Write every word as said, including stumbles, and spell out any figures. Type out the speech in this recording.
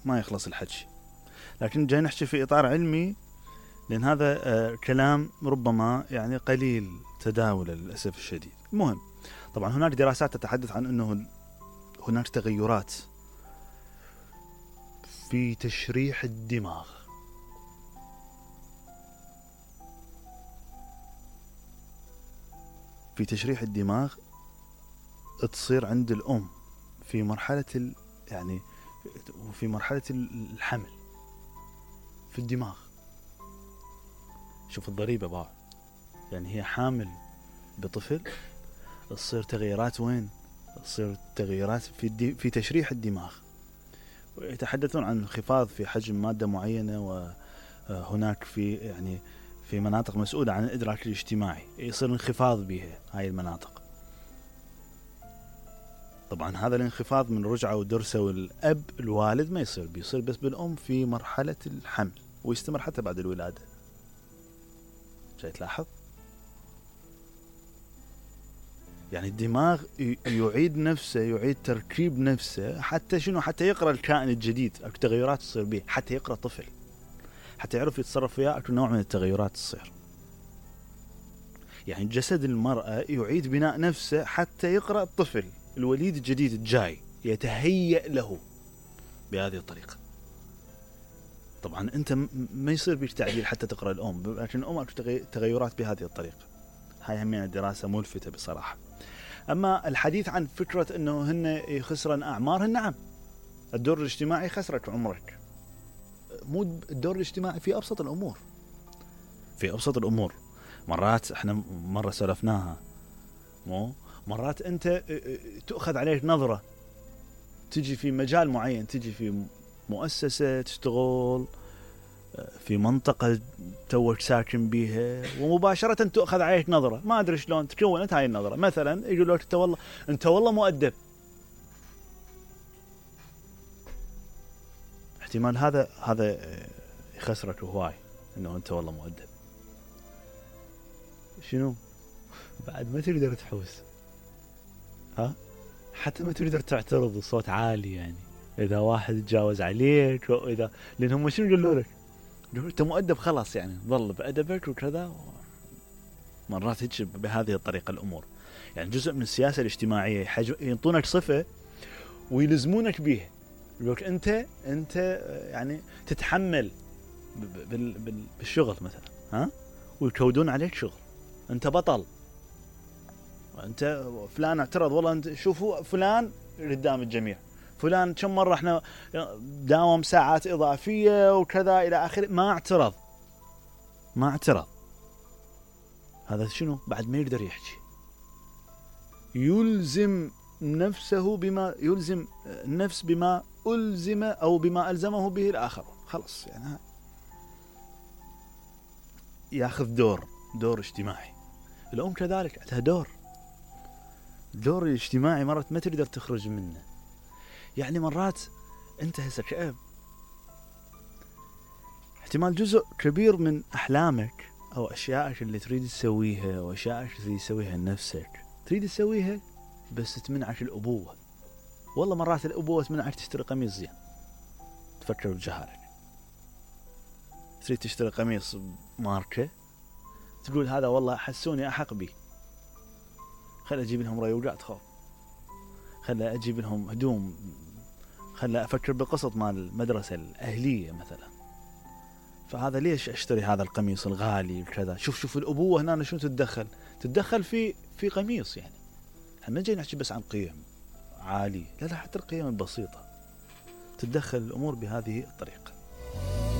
ما يخلص الحكي، لكن جاي نحكي في إطار علمي، لأن هذا آه كلام ربما يعني قليل تداوله للأسف الشديد. المهم، طبعا هناك دراسات تتحدث عن أنه هناك تغيرات في تشريح الدماغ. في تشريح الدماغ تصير عند الأم في مرحلة ال يعني في مرحلة الحمل في الدماغ. شوف الضريبة بقى، يعني هي حامل بطفل، تصير تغيرات وين؟ تصير تغيرات في الدي في تشريح الدماغ، ويتحدثون عن انخفاض في حجم مادة معينة، وهناك في يعني في مناطق مسؤولة عن الإدراك الاجتماعي يصير انخفاض بها هاي المناطق. طبعا هذا الانخفاض من رجعة ودرسة والأب الوالد ما يصير، بيصير بس بالأم في مرحلة الحمل، ويستمر حتى بعد الولادة. شايف تلاحظ؟ يعني الدماغ يعيد نفسه، يعيد تركيب نفسه، حتى شنو؟ حتى يقرأ الكائن الجديد، أكو تغيرات تصير به، حتى يقرأ طفل، حتى يعرف يتصرف فيها، أكو نوع من التغيرات تصير. يعني جسد المرأة يعيد بناء نفسه حتى يقرأ الطفل الوليد الجديد الجاي، يتهيأ له بهذه الطريقة. طبعا أنت ما يصير بيك تعديل حتى تقرأ الأم، لكن الأم أكو تغيرات بهذه الطريقة. هاي همين الدراسة ملفتة بصراحة. أما الحديث عن فكرة أنه هن يخسرن أعمارهن، نعم، الدور الاجتماعي خسرك عمرك. مو الدور الاجتماعي في أبسط الأمور، في أبسط الأمور. مرات احنا مرة سلفناها، مو مرات أنت تأخذ عليك نظرة، تجي في مجال معين، تجي في مؤسسة تشتغل في منطقة توك ساكن بيها، ومباشرة تأخذ عليك نظرة، ما أدري شلون تكونت هاي النظرة. مثلا يقولوا لك أنت والله أنت والله مؤدب، احتمال هذا هذا يخسرك هواي، إنه أنت والله مؤدب. شنو بعد ما تقدر تحوس، ها حتى ما تقدر تعترض بصوت عالي، يعني إذا واحد تجاوز عليك، وإذا لأنهم شنو يقولوا لك؟ أنت مؤدب خلاص، يعني ظل بأدبك وكذا. مرات هيك بهذه الطريقة الأمور، يعني جزء من السياسة الاجتماعية ينطونك صفة ويلزمونك بيها، يقولك أنت أنت يعني تتحمل بالشغل مثلا، ها، ويكودون عليك شغل، أنت بطل، أنت فلان اعترض، والله أنت شوفوا فلان قدام الجميع، فلان كم مرة احنا داوم ساعات إضافية وكذا إلى آخره، ما اعترض ما اعترض هذا شنو؟ بعد ما يقدر يحكي، يلزم نفسه بما يلزم النفس بما ألزم أو بما ألزمه به الآخر، خلص يعني ياخذ دور دور اجتماعي. الأم كذلك عندها دور دور الاجتماعي، مرات ما تقدر تخرج منه. يعني مرات أنت هسه كأب احتمال جزء كبير من أحلامك أو أشيائك اللي تريد تسويها أو أشيائك اللي تسويها لنفسك تريد تسويها، بس تمنعك الأبوة. والله مرات الأبوة تمنعك تشتري قميص زين، تفكر بجهارك، تريد تشتري قميص ماركة، تقول هذا والله حسوني أحق بي، خل أجيب لهم ريوجات، خو خل أجيب لهم هدوم، خل أفكر بقسط مال المدرسة الأهلية مثلا، فهذا ليش أشتري هذا القميص الغالي وكذا. شوف شوف الأبوة هنا شو تتدخل تتدخل في في قميص. يعني احنا ما جاي نحكي بس عن قيم عالية، لا لا، حتى القيم البسيطة تتدخل الأمور بهذه الطريقة.